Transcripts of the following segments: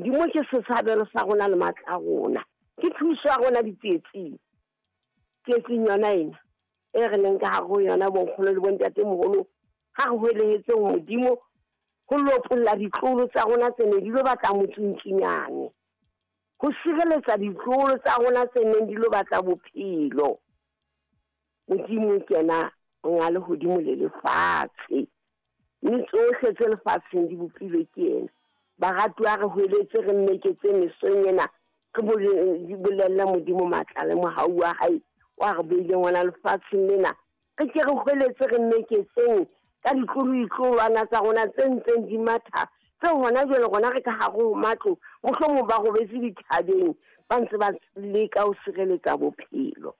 Modimo ke setshabelo sa rona le matla a rona. Ke thuso ya rona ditsietsing. Tsietsing yona ena e re leng ka hare ho yona bonkgono le bontatemoholo, ha re hwelehetseng Modimo ho lopolla ditloholo tsa rona tse ne di lo batla motsuntsunyane, ho sireletsa ditloholo tsa rona tse neng di lo batla bophelo. Modimo ke yena monga lehodimo le lefatshe, mme tsohle tse lefatsheng di bopilwe ke yena. Baratuwa, re hweletse re mmeketse mesong ena, re bolelle Modimo matla le mohau wa hae wa re beileng ona lefatsheng lena. Re ke re hweletse re mmeketseng ka ditlolo-ditlolwana tsa rona tse ntseng di matha, tse hona jwale rona re ka hare ho matlo, mohlomong ba robetse dithabeng, ba ntse ba leka ho sireletsa bophelo.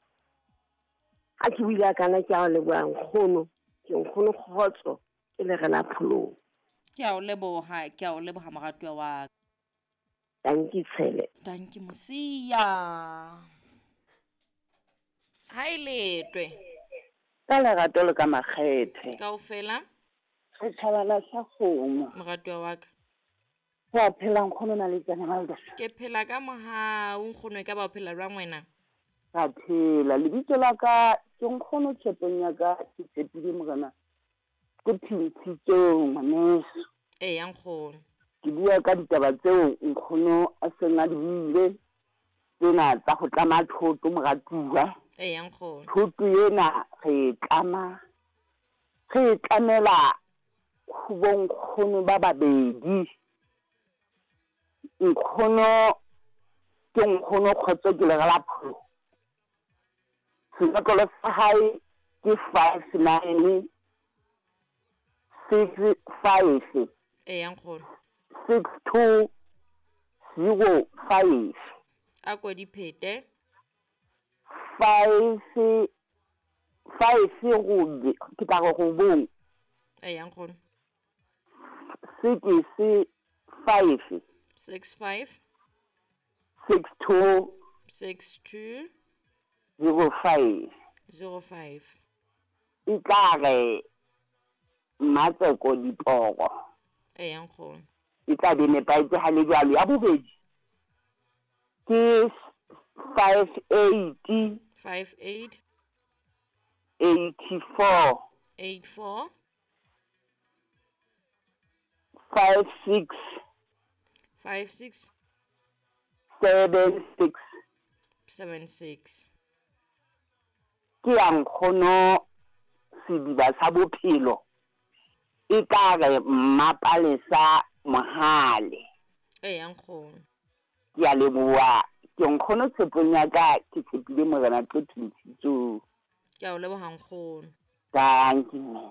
Ha ke buile kana ke a o leboha nkgono, ke nkgono kgotso, ke le re la pholong. Ke a o leboha, ke a o leboha moratuwa wa ka. Dankie Tshele. Dankie Mosia. Ha e letwe. Ka lerato le ka makgethe. Kaofela. Setjhabana sa kgomo. Moratuwa wa ka. Wa phela nkgono na le tsena Malda? Ke phela ka mohau nkgono, e ka ba o phela jwang wena? Ka phela. Lebitso la ka ke nkgono tshepong ya ka, ke tshepile morena. Ke phintshitsong ngwaneso. Eya nkgono. Ke bua ka ditaba tseo nkgono a seng a di buile tsena tsa ho tlama thoto moratuwa. Eya nkgono. Thoto ena re e tlama, re e tlamela ho bonkgono ba babedi. Nkgono ke nkgono Kgotso ke lere la pholo. Senotlolo sa hae ke 59 65 Eya nkgono. 62 05. A ko di phete. 5 5 robe ke tla re robong. Eya nkgono. 6 5 6 5 6 2 6 2 0 5 0 5. E tla re Mmatseko Diporo. Eya nkgono. E tla be nepahetse ha le jwalo. Ya bobedi ke 5 8 5 8 84 8 4 5 6 5 6 7 6 7 6. Ke ya nkgono sediba sa bophelo. E tla re Mmapalesa Mohale. Eya nkgono. Ke a leboha. Ke nkgono tshepong ya ka, ke tshepile morena tlo thintshitsong. Ke a o leboha nkgono. Dankie mme.